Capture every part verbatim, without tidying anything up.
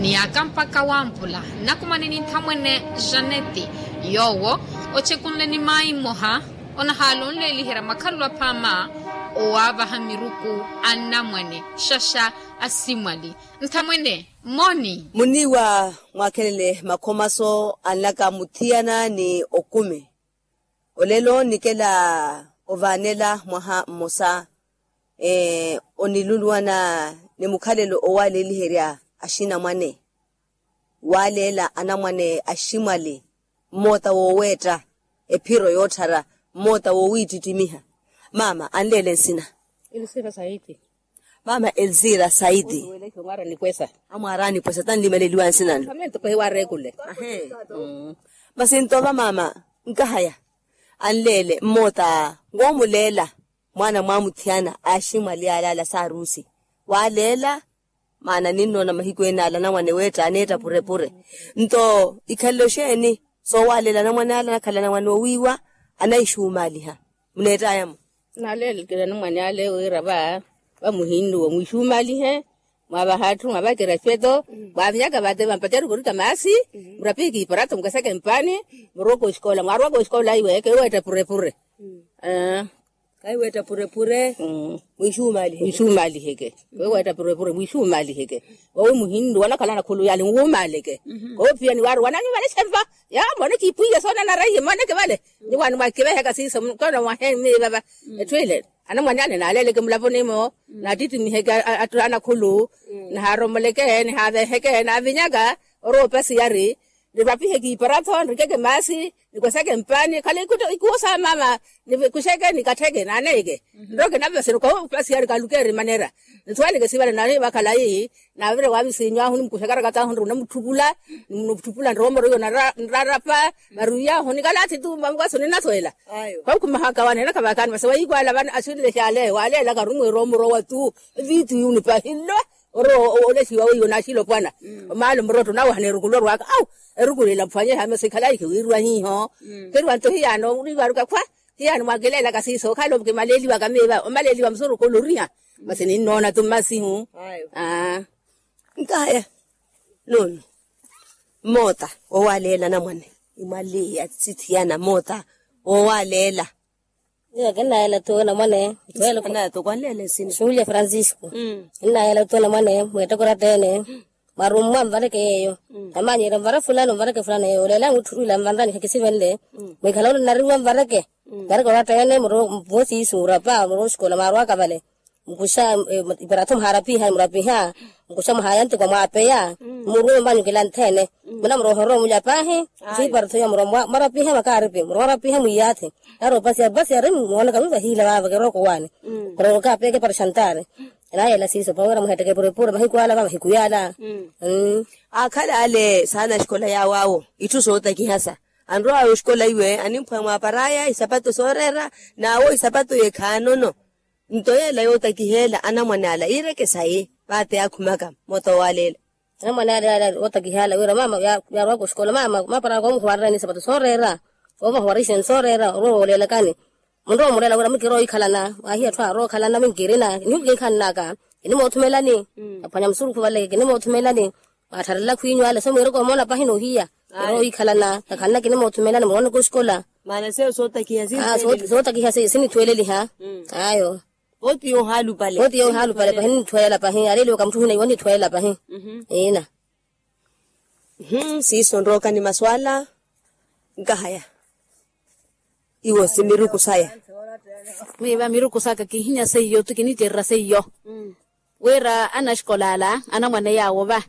Ni aka mpakha wampula nnakumani ni nthamwene janeti, yoowo ochekunle ni mayi mmoha onahaala onleeliherya makhalelo aphaama owaavaha miruku a nnamwene. Xaxa asimwali nthamwene moni. Muniiwa mwakhelele makhomaso anlaka muthiyana ni okumi. Olelo nikela ovaanela mwaha mmosa oniluluwana ni mukhalelo owaleeliherya axinamwane. Waleela anamwane aximwali mmoota wooweetta ephiro yootthara mmoota woowiittittimiha. Maama anleele nsina. Elzira saidi. Maama elzira saidi. Amwaara anipwesa tanlimeleliwa nsina nlo. Masi nto vamaama nkahaya anleele mmoota woomuleela mwaana mwaamuthiyana aximwali alaala saarusi. Waleela maana ninnoona mahiku enaala anamwane weetta aneetta purepure. Nto ikhalelo xeeni soowaleela anamwane ala anakhala anamwane oowiiwa anaixumaaliha? Muneettaya-mo. Naleelekela anamwane ale wira va vamuhinnuwa mwiixumaalihe. Mwaavaha atthu mwaavakera efeto mwaavinyaka vate vampacerika orika maasi murapihe kiiparato mukweseke mpaani. Murowaka oxikola mwaarowaka oxikola iwe keweetta purepure. Kahiweetta purepure. Mwiixumaliheke. Kahiweetta purepure mwiixumaliheke. Vawi muhinnuwa anakhala anakhulu yale nwumaleke. Koophiyani waaruwa nanyu vale xempa. Yaamoone kiipwiya soonanara iye mooneke vale. Niwaani mwaakiveheka siiso mukona mwahe miivava. Etthu ile anamwane ale naaleleke mulavoni-mo. Naattittimiheke atthu anakhulu. Nihaaromoleke nihaaveheke naavinyaka orowa opasiyari. Nirwapihe kiiparato nirikeke maasi nikweseke mpaani khale ikuwo sa maama. Nikuxeke nikattheke naaneyeke nroke naveveseni okawo opasiyari kalukeeri manera. Nisuwaneke sivale naani vakhala ii. Naavire waavisiinyu ahu nimukuxaka rakata ahu nri onamutthupula. Nimunamutthupula nroomoro iyo nrarapa. Varwiyahu nikalathi tu mamukaso ninasuwela. Khwakhumaha kawane nakhavakani masi wayikwala vana axilile xale waleelaka arumwa eroomoro wa tu. Viitu yunipa hillo orowa olexiwa weiwo naaxilopwana. Omaala omurotto nawaha neeruku lorwaka au eruku lila mphwanyeha masi khalayi khiwiiriwa hiiho. Keriwa nto hiyaano oriivaruka khwa hiyaano mwakileelaka siiso okhala omukimaleeliwaka miiva omaleeliwa musurukhu oloriha. Masi ninnoona tu mmasihu. Nkaya nono mmoota woowaleela anamwane imwaliya sithiyana mmoota woowaleela. Iyo kinnayeela tu namwane. Xulya francisco. Kinnayeela tu namwane mweetteke oratta-ene. Mwarummwa mvareke yeeyo. Namanyerya mvara fulani mvareke fulani yeeyo oleela anwitthurwila mvanrani khakisivenle. Mwikhala ole narimmwa mvareke mvareke oratta-ene muro mvosi isu murapa muro oxikola mwarwaka vale. Mukuxa iparato muhaarapiha murapiha. Mukuxa muhayantikwa mwaapeya. Murwe mbanyu kilanthene. Muna murohorwa omulya paahi. Xiiparato iya murapiha makaaripi murapiha mwiyathi. Nari opasiya opasiya ari mooneka wiivahiila vaava kirooko waani. Kirooko kaapeya kiparaxantaari. Enayela siiso pawira muhetteke purepure mahiku ala va mahiku yaala. Aakhala ale saana axikola yaawo awo itthu sootakihasa. Anrowaya oxikola iwe animphwa mwaparaya isapato sooreera. Naawo isapato yeekhaanono. Nto yeela yootakiheela anamwane ala iireke sayi vaate yaakhumaka moota woowaleela. Anamwane ala yootakiheela wira maama yaarowaka oxikola maama maaparaya koomuhuwarerani isapato sooreera. Koomuhuwarixeni sooreera orowa wooleelakani. Munrowa omuleela wira mukiroowa ikhalana waahiya atthu aarowa okhalana minkirina nihukinkhanaka. Kinimoothumelani aphwanya musurukhu vale kinimoothumelani. Waattharela khwiinyu ale so mwiireke omoona pahi noohiya. Ero ohiikhalana takhanna kinimoothumelani murooneke oxikola. Maana seyo sootakiha sootakiha sinithweeleliha. Ayo. Vooti yoohaalupale pahi ninithweelela pahi aleeliwaka mutthu ohina iwe onithweelela pahi. Iina. Siiso nrookani maswaala. Nkahaya iwo si miruku saya. Mwiiva miruku saka kihinya seiyo ti kinittererya seiyo. Wira anaxikola ala anamwane yaawo va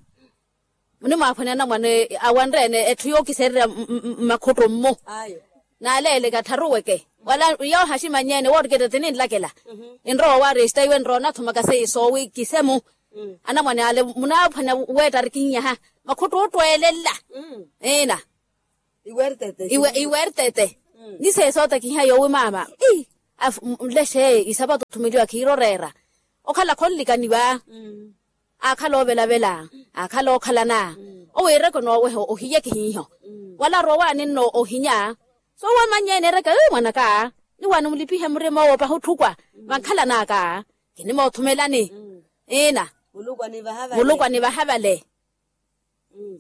munimwaaphwanya anamwane awanre-ene etthu yookisererya mmakhuttu mmu. Naaleeleke attharuweke wala yoohaximanyene wooriketta tininlakela. Enrowa owaaresta iwe enrowa onathumaka seiyo soowi kisemu. Anamwane ale munaaphwanya weetta arikinyaha makhuttu ottweelela. Ina iwertete ni seesootakiha yoowi maama. Nlexe isapato othumeliwa khiiroreera okhala khonlikani va. Aakhala oovelavela aakhala ookhalana. Owiireke onooweha ohiye kihiiho wala arowa waani nno ohinya. Soowamanyeene ereke mwanaka niwaani mulipihe murima owo pahi otthukwa vankhalanaka. Kinimoothumelani ina muluku anivaha vale.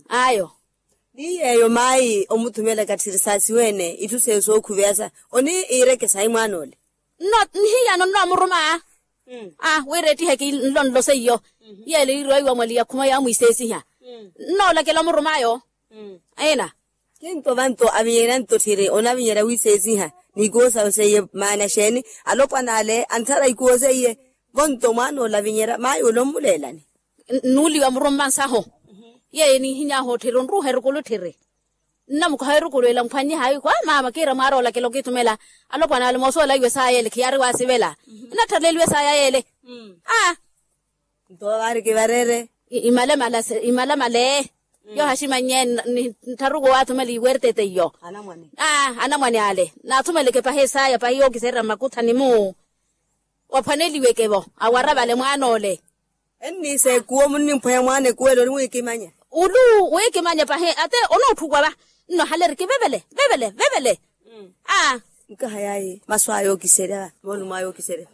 Ayo. Ni yeeyo maayi omuthumela ekatthiri saasiweene itthu seeyo sookhuveya sa oniirekesa ayi mwaana ole? Nno nihiyano nnoomuruma. Aa wira ettiheke nlonlo seiyo yeele yiiriwa iwamwali yakhuma yaamwiiseesiha. Nnoolakela omuruma ayo. Ina. Kinto vanto avinyerya nto tthiri onavinyerya wiiseesiha n'ikuwo sawe seiye maana exeeni? Alopwana ale anthara ikuwo seiye. Vonto mwaana ole avinyerya maayi ole ommuleelani. Nuuliwa murumma nsaho yeeyo enihiny'ahu otthiri onruuha erukulu tthiri. Nnamukoha erukulu ela nkhwannye haayi kwa maama kiira mwaara olakela okiithumela. Alopwana ale moosoola iwe saaya ele khiyaari waasivela. Nnatthaleliwe saaya yeele. Aa. Nto vaari kivareere. Imalamala imalamale. Yoohaximannye nttharuku waathumela iwertete iyo. Anamwane ale naathumeleke pahi esaaya pahi yookiserya mmakuthani-mu. Waphwaneliweke-vo awara vale mwaana ole. Enniisa ekuwo munnimphwanya mwaana ekuwo ele onimwiikimanya. Ulu wiikimanya pahi ate onootthukwa va. Nnohaleri kivevele vevele vevele. Aa. Nkaha yaayi masu aya ookiserya moolumo aya ookiserya.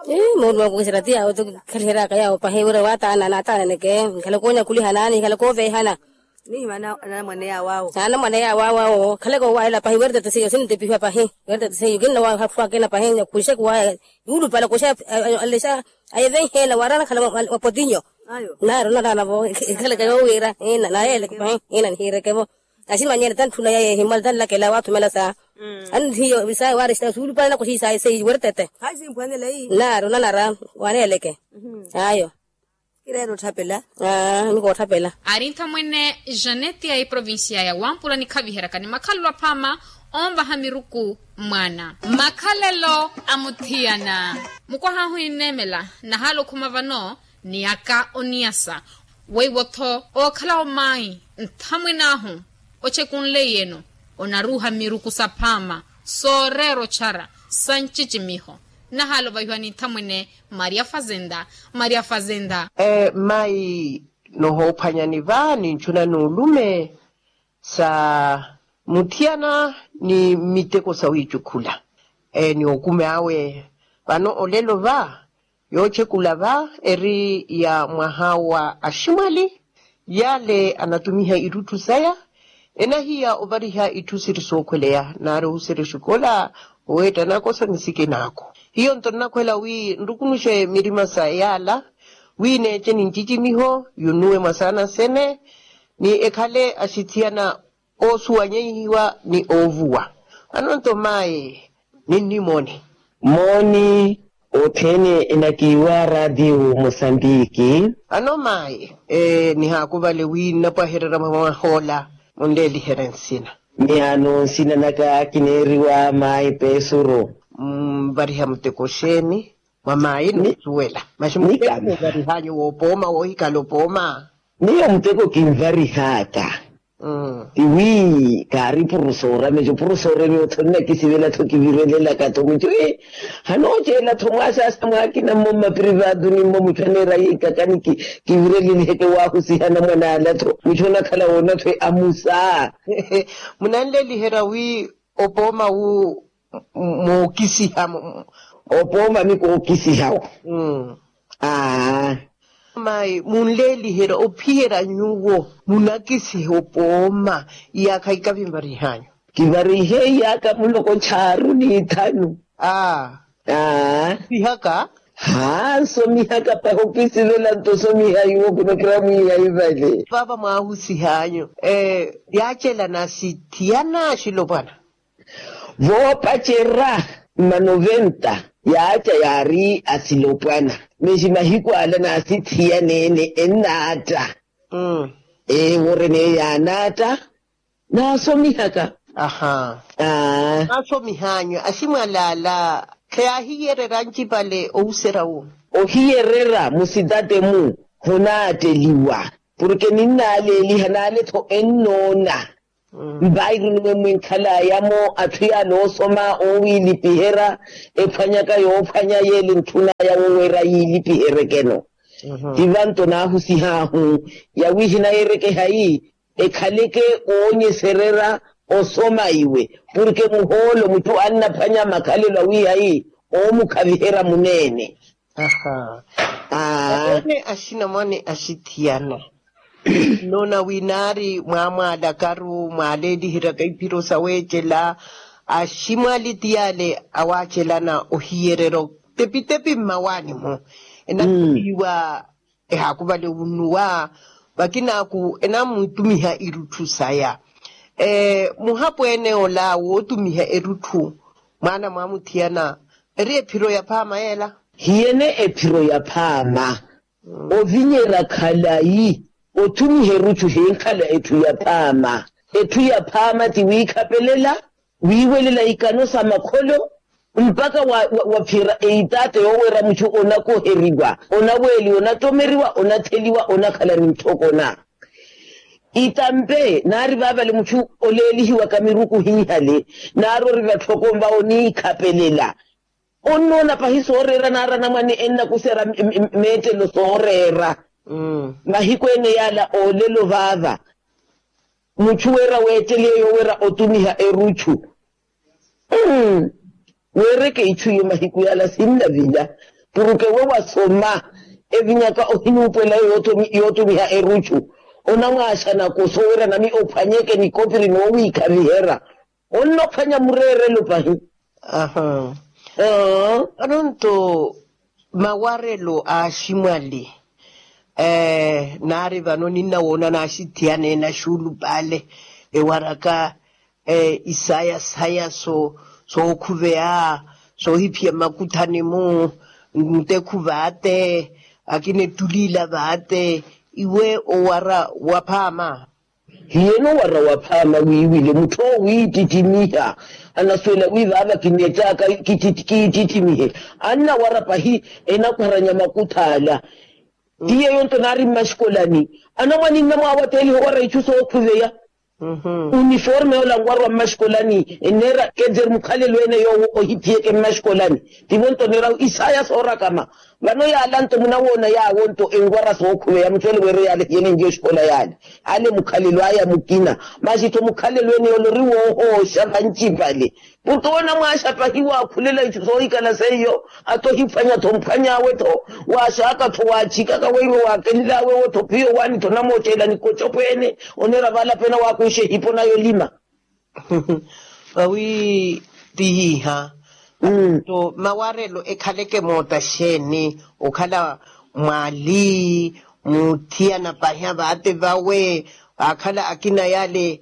Ii moolumo aya ookiserya ti yaawo ti khaliheryaka yaawo pahi wira waataana naataananeke. Nkhale koonyakhuliha naani nkhale kooveehana. Nihimana anamwane yaawo awo. Anamwane yaawo awo awo khaleke owaahela pahi wertete seiyo sinitepihiwa pahi. Wertete seiyo kinna waahafwakena pahi nyakhunxeku waya. Yuulupale kuxa alexa ayevenheela waraana khala wa potinyo. Naaru naraana vo ekhaleke yoowiira ina nayeeleke pahi. Ina nihiireke vo. Aximanyele tantthuna yaye ehimwale tanlakela waathumela saa. Annihiyo saa waari suulupale nakuxiisaaye seiyi wertete. Naaru nanara waneeleke. Ayo. Kireera otthapela. Aa nikootthapela. Ari nthamwene janeti ya eprovincia ya wampula nikhaviheryaka ni makhalelo aphaama onvaha miruku mwaana. Makhalelo a muthiyana. Mukwaha ahu ninneemela nahaala okhuma vano ni aka oniyasa weiwo-tho ookhalawo maayi nthamwene ahu ochekunleiyeno onaruuha miruku saphaama sooreera ochara sa ncicimiho. Nahaala ovahiwa ni nthamwene maria fazenda. Maria fazenda. Mmayi nohoophwanyani va ninchuna n'ulume sa muthiyana ni miteko sawiicukhula ni okume awe. Vano olelo va yoochekula va eri ya mwaha wa aximwali yale anatumiha itthu saya. Enahiya ovariha itthu siri sookhweleya naari ohuserya exikola oweetta nakoso ni sikinaako. Hiyo nto nnakhwela wi nrukunuxe mirima sa yaala wi neece nincicimiho yunuwe mwasaana sene ni ekhale axithiyana oosuwanyehiwa ni oovuwa. Ano nto mayi ninnimooni. Mooni othene enakiiwa raatiyo mosambiki. Ano mayi nihaakuvale wi nnapwahererya mwa mwahoola munleeliherye nsina. Miyaano nsina naka kineeriwa mayi pesuro. Mvariha muteko xeeni mwa mayi nisuwela maxi muteko wovarihanyu woopooma woohikhala opooma. Miyo muteko kinvarihaaka. Tiwi kaari purusora mejo purusora emiyo otho nnakisivela-tho kivirelelaka-tho mucho. Hanooceela-tho mwaaxaaxa mwaakina mmo mmaprivado ni mmo mucho aneera yiikaka ni kivireleliheke waahusiha anamwane ala-tho mucho onakhala woona-tho amusa. Munanleliherya wi opooma wu mookisiha. Opooma ni kookisiha-wo. Aa. Mayi munleeliherya ophiherya nyuwo munakisiha opooma iyaakha ikavi nvarihanyu. Kivarihe iyaakha muloko nchaaru ni ithanu. Aa. Aa. Sihaka. Haa nsomihaka pahi okisivela nto osomiha iwo khunakira mwiiha ivale. Vava mwaahusihanyu yaacelana sithiyana axilopwana. Voopacerya mma noventa yaaca yaari asilopwana. Mexi mahiku ala naasithiyaneene ennaatta. Eworeneyo yaanaatta naasomihaka. Aa. Naasomihanyu aximwalaala kheyahiyererya ancipale ohuserya wu. Ohiyererya musitate-mu honaatteliwa. Porke ninnaaleeliha naale-tho ennoona. Mpairu numwe mwinkhalaya-mo atthu yaale oosoma owiilipiherya ephwanyaka yoophwanya yeele ntthunaya woweera yiilipiheryeke-no. Ti vanto naahusihaahu yawi hinayeerekehayi ekhaleke oonyesererya osoma iwe. Porke muhoolo mutthu annaphwanya makhalelo awiihayi oomukhaviherya muneene. Aa. Aweene axinamwane axithiyana Nnoona wi naari mwaamwaalakaru mwaaleeliheryaka iphiro saweecela, aximwali ti yaale awaacelana ohiyererya otepitepi mmawaani-mo. Enattupiwa ehaakuvale onnuwa vakinaaku enamwiitumiha irutthu saya. Muhapweene ola wootumiha erutthu mwaana mwamuthiyana eri ephiro yaphaama yeela? Hiyene ephiro yaphaama. Ovinyerya khalayi othumiha erutthu hinkhala etthu yaphaama. Etthu yaphaama ti wiikhapelela, wiiwelela ikano sa makholo mpakha waphira eitaatta yoowerya mutthu onakoheriwa, onaweeliwa onattomeriwa onatheliwa onakhala ni ntthokona. Itampe naari vaavale mutthu oleelihiwaka miruku hiihale naari ori vatthoko mva oniikhapelela. Onnoona pahi sooreera naari anamwane ennakusera meettelo sooreera. Mahiku ene yaala oolelo vaava mutthu weera weetteliye yoowerya otumiha erutthu. Weereke itthu iyo mahiku yaala sinnavila. Puruke we wasoma evinyaka ohinuupwela yootumiha erutthu onamwaaxanaka osoowerya nami ophwanyeke nikopiri noowiikhaviherya. Onnophwanya mureerelo pahi. Vano nto mawarelo a aximwali naari vano ninnawoona naaxithiyana enaxuulupale ewaraka isaya saya sookhuveya soohiphiya mmakuthani-mu ntekhu vaate akina ettuliila vaate iwe owara waphaama. Hiyeno wara waphaama wiiwile mutthu owo wiittittimiha anasuwela wi vaava kineettaka kiittittimihe annawara pahi enakwaranya makutthaala. Ti yeeyo nto naari mmaxikolani anamwane nnamwaawateeliha owara itthu sookhuveya uniforme yoola nwarwa mmaxikolani enneera kenzeri mukhalelo ene yoowo ohiphiyeke mmaxikolani. Tivo nto oneerahu isaya soorakama. Vano yaala nto munawoona yaawo nto enwara sookhuveya mutthu ele weereye yaale hiyene njiya oxikola yaale ale mukhalelo aya mukina. Maxi-tho mukhalelo ene yoola ori woohooxa vancipale. Purke woona mwaaxa pahi waakhulela itthu soohikhala seiyo ata ohiphwanya-tho mphwany'awe-tho waaxaaka-tho waatthikaka weiwo waakenl'awe wo-tho phiyo waani-tho namootteela nikocopweene. Oneera vaala pena waakuxa ehipo nayo lima. Vawi tihiiha nto mawarelo ekhaleke moota xeeni? Okhala mwaali muthiyana pahi avaate vawe akhala akina yale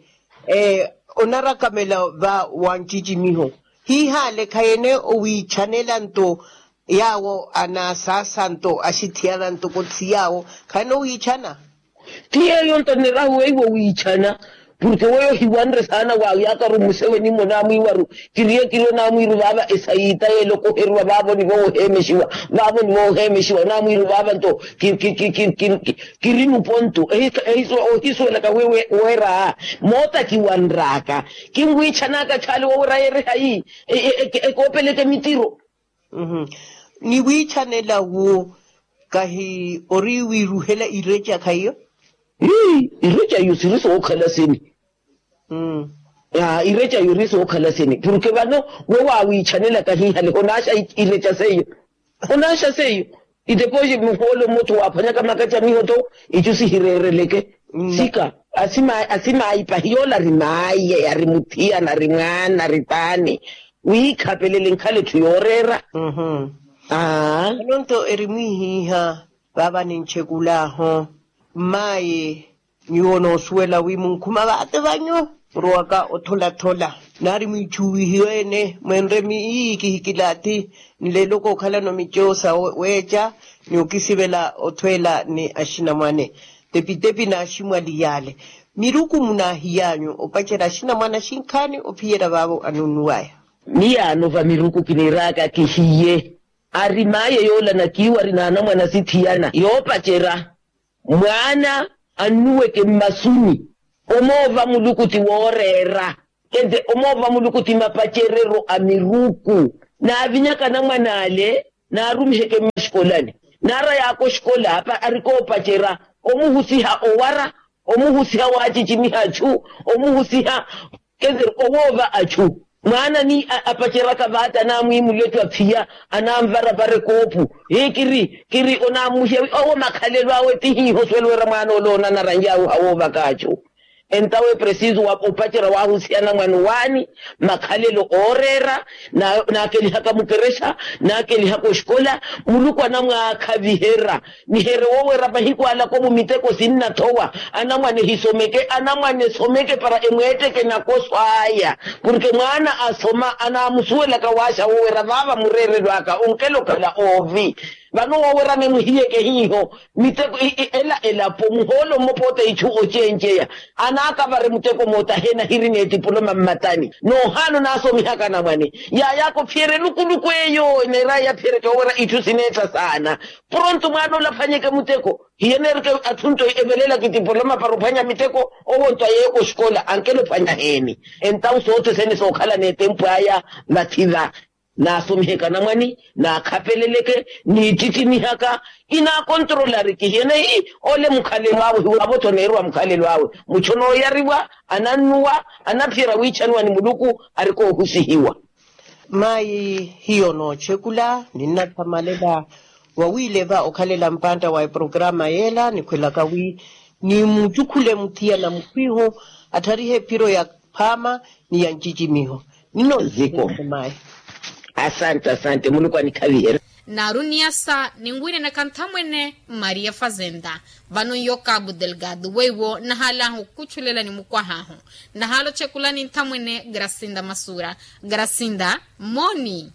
onarakamela va wancicimiho hiihale khayene owiichanela nto yaawo anaasaasa nto axithiyana ntoko thi yaawo khayene owiichana. Ti yeeyo nto nirahu weiwo wiichana purke weyo hiwanre saana waayaakaru museweni mmo naamwiiwaru kiriye kiriyo naamwiiru vaava esayiita yeela okoheriwa vaavo ni vooheemexiwa vaavo ni vooheemexiwa naamwiiru vaava nto kiri nupontu ohisuwelaka weera moota kiwanraaka kinwiichanaka chaali woowera yeere hayi ekoopeleke mitiro. Ni wiichanela wu kahi ori wiiruhela ireca khaiyo. Ireca iyo siri sookhala sini. Ireca iyo iri sookhala sini purke vano we waawiichanela kahiihale onaaxa ireca seiyo. Onaaxa seiyo. Itepoxi muhoolo mmottho waaphwanyaka makacha miho-tho icu sihireereleke. Sika asimaayi pahi yoola ari maayi ari muthiyana ari mwaana ari paani wiikhapelele nkhala etthu yooreera. Aa. Eno nto eri mwiihiiha vaava ninchekul'ahu mmaayi nyuwo noosuwela wi munkhuma vaate vanyu murowaka otholathola naari mwiichuwihiwe-ene mwenre miiyi kihikilaathi nleelo kookhalano mico saweeca ni okisivela othweela ni axinamwane tepitepi n'aximwali yaale miruku munaahiy'anyu opacerya axinamwane axinkhaani ophiyerya vaavo anunnuw'aya. Miyaano va miruku kiniiraaka kihiye ari maye yoola nakiiwari n'anamwane asithiyana yoopacerya mwaana annuweke mmasuni omoova muluku ti wooreera kente omoova muluku ti mapacereryo a miruku naavinyaka anamwane ale naarumiheke mmaxikolani naaray'aka oxikola arikoopacerya omuhusiha owara omuhusiha waacicimiha achu omuhusiha kente owoova achu Mwaana ni apaceraka vaati anamwiimulya etthu aphiya, anamvarapara ekoopu. Hii kiri kiri onammuhiya wi owo makhalelo awe ti hiiho oswela wira mwaana ole onanaranjaahu hawoovaka achu. Entawe presiso wa opacerya wahusiya anamwane owaani, makhalelo ooreera, naakelihaka mukerexa, naakelihaka oxikola. Muluku anamwaakhaviherya. Nihere wowera mahiku alako mu miteko sinnathowa. Anamwane hisomeke anamwane esomeke para emweetteke nakoso aya. Porke mwaana asoma anamusuwelaka waaxa wowera vaava mureerelo aka onkela okhala oovi. Vano wowera nimwihiyeke hiiho miteko ela elapo muhoolo mmo poota ichu ocenceya. Anaakavare muteko moota aheena hiri n'etipuloma mmatani noohaana onaasomihaka anamwane. Yaayaka ophiyerya elukuluku eyo neeraya yaphiyeryeke wowera itthu sineetta saana. Poronto mwaana ole aphwanyeke muteko hiyeneerike atthunto evelelaka etipoloma para ophwanya miteko. Owonto ayeeko oxikola ankela ophwanya heeni. Entawu soothesene sookhala n'etempu aya. Vathi va naasomiheke anamwane naakhapeleleke niittittimihaka. Inaakontrolariki hiyeneyi ole mukhalelo awe hiwaavotho neeriwa mukhalelo awe. Muchonooyariwa anannuwa anaphiyerya wiichaniwa ni muluku. Arikoohusihiwa. Mayi hiyo noochekula ninnathamalela wawiileva okhalela mpantta wa eprograma yeela nikhwelaka wi nimucukhule muthiya na mukhwiiho attharihe ephiro ya phaama ni ya ncicimiho. Ninnooziko mayi. Asante asante muluku anikhaviherye. Naaru niyasa ninwiinenaka nthamwene maria fazenda. Vano nyo cabo delgado weiwo nahaalaha okukutxulela ni mukwahahu. Nahaala ochekulani nthamwene grasinda masura. Grasinda moni.